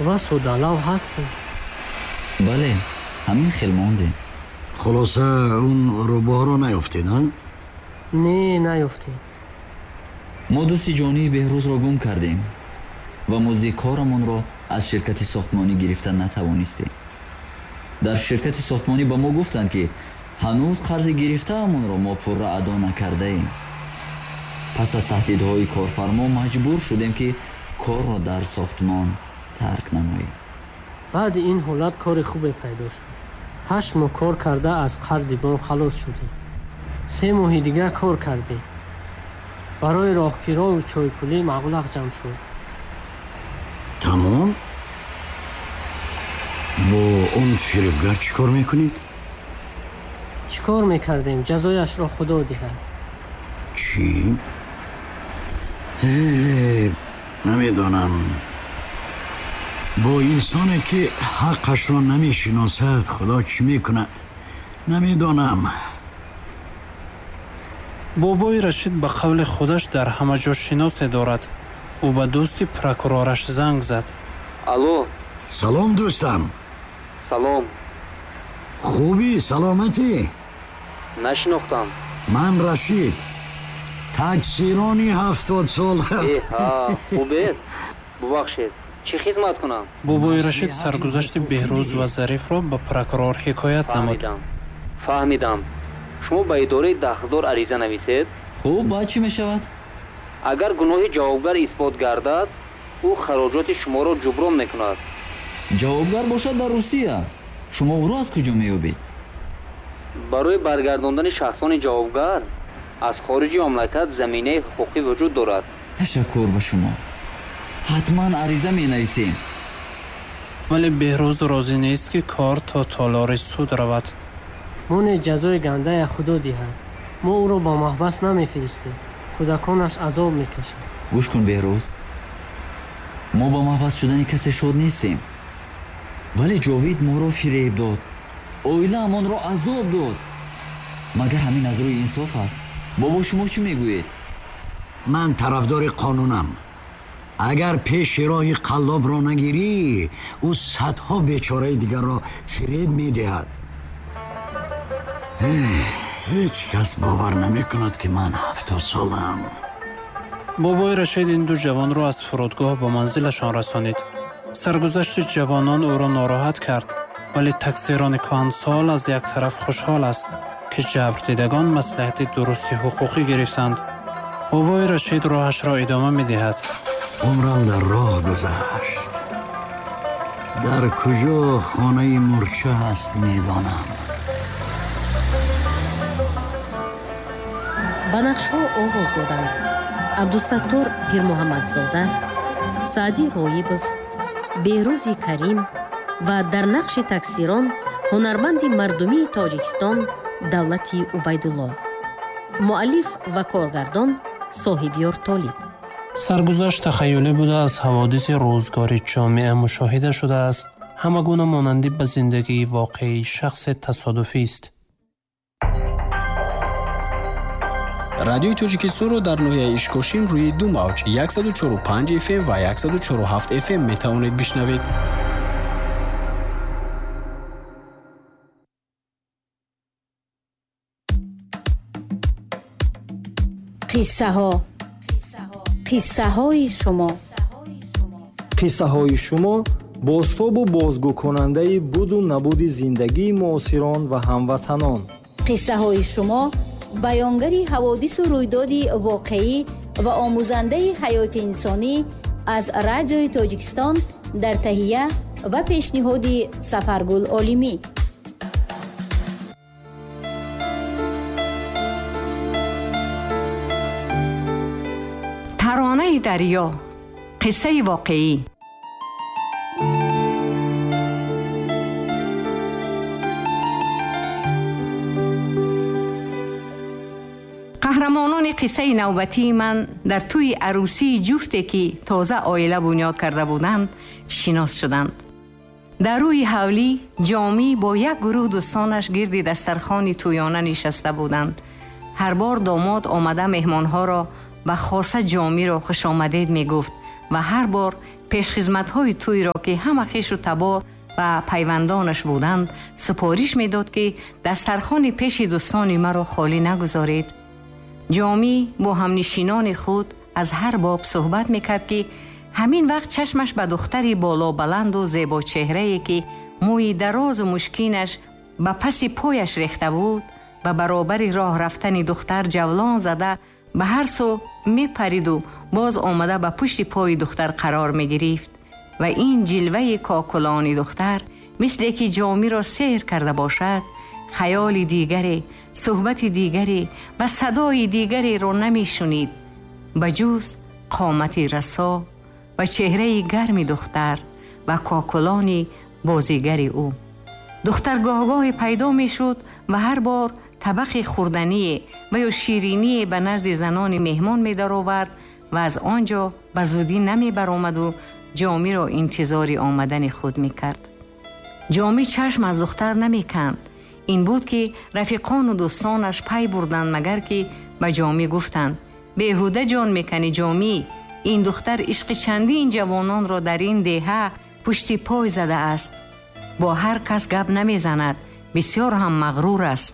Ва содалав ҳастем. Бале, ҳамин хел мондем. Хулоса, он рӯбоҳро наёфтед, а? Не, наёфтем. Мо дӯсти ҷонии Беҳрӯзро гум кардем ва музди корамонро аз ширкати сохтмонӣ гирифта натавонистем. Дар ширкати сохтмонӣ ба мо гуфтанд, ки ҳанӯз қарзи гирифтаамонро мо пурра адо накардаем. Пас аз таҳдидҳои корфармо маҷбур шудем, ки корро дар сохтмон тарк намоем. Баъди ин ҳолат кори хубе пайдо шуд. 8 моҳ кор карда, аз қарзи бонк халос шудем. 3 моҳи дигар кор кардем. Барои роҳкирову чойпулӣ маблағ ҷамъ шуд. Тамом, бо он фиребгар чӣ кор мекунед? Чӣ кор мекардем? Ҷазояшро Худо диҳад. Чӣ? Намедонам, бо инсоне ки ҳаққашро намешиносад, Худо чӣ мекунад, намедонам. Бобои Рашид ба қавли худаш дар ҳама ҷо шиносе дорад. Ӯ ба дӯсти прокурораш занг зад. Алло. Салом, дӯстам. Салом. Хубӣ, саломатӣ? Нашинохтам. Ман Рашид, таксирони 70сола. Эҳа, хубед? Бубахшед, чӣ хизмат кунам? Бобои Рашид саргузашти Беҳрӯз ва Зарифро ба прокурор ҳикоят намуд. Фаҳмидам, фаҳмидам. Шумо ба идораи дахлдор ариза нависед. Хуб, баъд чӣ мешавад? Агар гуноҳи ҷавобгар исбот гардад, ӯ хароҷоти шуморо ҷуброн мекунад. Ҷавобгар бошад дар Русия. Шумо ӯро аз куҷо меёбед? Барои баргардондани шахсони ҷавобгар аз хориҷи мамлакат заминаи ҳуқуқӣ вуҷуд дорад. Ташаккур ба шумо, ҳатман ариза менависем. Вале Беҳрӯз розӣ нест, ки кор то толори суд равад. Моне ҷазои гандая Худо диҳад. Мо ӯро ба маҳбас намефиристем, кӯдаконаш азоб мекашанд. Гӯш кун, Беҳрӯз, мо ба маҳбас шудани касе шод нестем, вале Ҷовид моро фиреб дод, оилаамонро азоб дод. Магар ҳамин аз рӯи инсоф аст? Бобо, шумо чӣ мегӯед? Ман тарафдори қонунам. Агар пеши роҳи қаллобро нагирӣ, ӯ садҳо бечораи дигарро фиреб медиҳад. Ҳеҷ кас бовар намекунад, ки ман 70солаам. Бобои Рашид ин ду ҷавонро аз фурудгоҳ ба манзилашон расонид. Саргузашти ҷавонон ӯро нороҳат кард, вале таксирони кӯҳансол аз як тараф хушҳол аст, ки ҷабрдидагон маслиҳати дурусти ҳуқуқӣ гирифтанд. Бобои Рашид роҳашро идома медиҳад. Умрам дар роҳ гузашт. Дар куҷо хонаи мурча ҳаст, медонам. Ба нақшҳо овоз доданд: Абдусаттор Пирмуҳаммадзода, Саъдӣ Ғоибов, Беҳрӯзи Карим ва дар нақши таксирон ҳунарманди мардумии Тоҷикистон Давлати Убайдулло. Муаллиф ва коргардон Соҳибёр Толиб. Саргузашт тахайюлӣ буда, аз ҳаводиси рӯзгори ҷомеа мушоҳида шудааст. Ҳама гуна монандӣ ба зиндагии воқеии шахсе тасодуфист. Радиои Тоҷикистонро дар ноҳияи Ишкошим рӯи ду мавҷ 104,5 фм ва 104,7 фм метавонед бишнавед. Қиссаҳо, қиссаҳои шумо. Қиссаҳои шумо бозтобу бозгӯкунандаи буду набуди зиндагии муосирон ва ҳамватанон. Қиссаҳои шумо баёнгари ҳаводису рӯйдоди воқеӣ ва омӯзандаи ҳаёти инсонӣ аз Радиои Тоҷикистон дар таҳия ва пешниҳоди Сафаргул Олимӣ. Таронаи дарё, қиссаи воқеӣ. Қаҳрамонони қиссаи навбатии ман дар тӯи арӯсии ҷуфте, ки тоза оила бунёд карда буданд, шинос шуданд. Дар рӯи ҳавлӣ Ҷомӣ бо як гурӯҳ дӯстонаш гирди дастархони тӯёна нишаста буданд. Ҳар бор домод омада меҳмонҳоро ва хоса Ҷомиро хушомадед мегуфт ва ҳар бор Пешхизматҳои тӯйро, ки ҳама хешу табор ва пайвандонаш буданд, супориш медод, ки дастархони пеши дӯстони маро холӣ нагузоред. Ҷомӣ бо ҳамнишинони худ аз ҳар боб суҳбат мекард, ки ҳамин вақт чашмаш ба духтари болобаланду зебочеҳрае, ки мӯи дарозу мушкинаш ба паси пояш рехта буд ва баробари роҳ рафтани духтар ҷавлон зада ба ҳар сӯ мепариду боз омада ба пушти пои духтар қарор мегирифт ва ин ҷилваи кокулони духтар мисле ки ҷомиро сеҳр карда бошад, хаёли дигаре, суҳбати дигаре ва садои дигареро намешунид ба ҷуз қомати расо ва чеҳраи гарми духтар ва кокулони бозигари ӯ. Духтар гоҳгоҳе пайдо мешуд ва ҳар бор табақи хӯрдание ва ё шириние ба назди занони меҳмон медаровард ва аз он ҷо ба зудӣ намебаромаду ҷомиро интизори омадани худ мекард. Ҷомӣ чашм аз духтар намеканд. Ин буд, ки рафиқону дӯстонаш пай бурданд, магар ки ба ҷомӣ гуфтанд: «Беҳуда ҷон меканӣ, ҷомӣ, ин духтар ишқи чандин ҷавононро дар ин деҳа пушти пой задааст. Бо ҳар кас гап намезанад, бисёр ҳам мағрур аст».